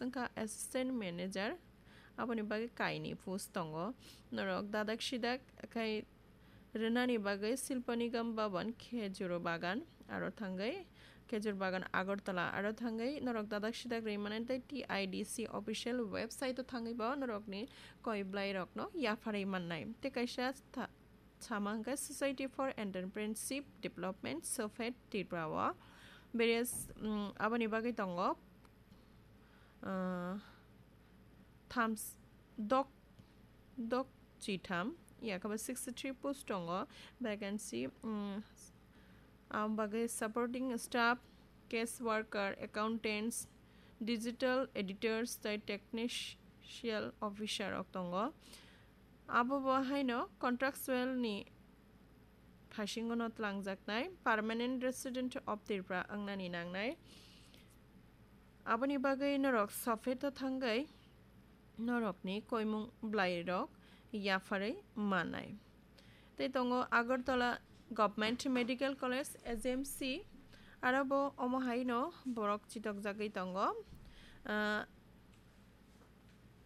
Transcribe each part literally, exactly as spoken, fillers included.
Wngkha assistant manager, aboni bagwi kainwi post tongo. Norok dadak sidak khai rwnani bagwi Silpa Nigam Bhavan, Khejur Bagan, aro thangwi Khejur Bagan Agartala, aro thangwi norok dadak sidak rwi mannai tei T I D C official website o thangwi bo norokni koi bwlai rokno yapharwi mannai. Tei kaisa tha-, sama hwnkhe Society for Entrepreneurship Development, SOFED Tripura o various, mm, aboni bagwi tongo, ah, thams-, dok, dok chitham, yakhe bo sixty three post tongo, vacancy, mm, aboni bagwi supporting staff, case worker, accountants, digital editors tei technical officer rok tongo. Abo bo haino contractual ni phasingo no twlangjaknai, permanent resident of Tripura wngnani nangnai. Aboni bagwi norok SOFED o thangwi norokni koimung bwlai rok yapharwi mannai. Tei tongo Agartala Government Medical College, A G M C, aro bo omo haino borok chitokjagwi tongo. Ah,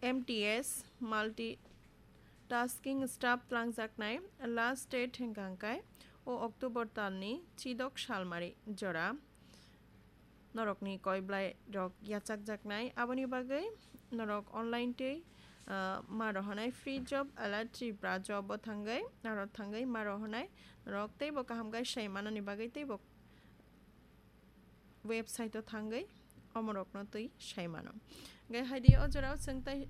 M T S, multitasking staff twlangjaknai, last date hwnkha hwnkhe o October talni chidok salmari jora. Norokni koi bwlai rok yachakjaknai, aboni bagwi norok online tei, ah, ma rohornai free job alert Tripura job o thangwi, aro thangwi ma rohornai norok teibo kaham khe sai manani bagwi teibo website o thangwi omorokno twi sai mano. Hwnkhe haidi o jorao chwng tei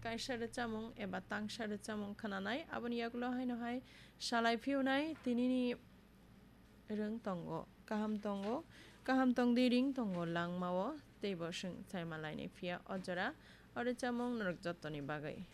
kaisa rwchapmung eba tangsa rwchapmung khwnanai, aboni yagulo haino hai salai phiyunai tinini rwng tongo, kaham tongo, kaham tongdi ring tongo langmao, teibo chwng sai malainai phiya o jora o rwchapmung norok jottoni bagwi.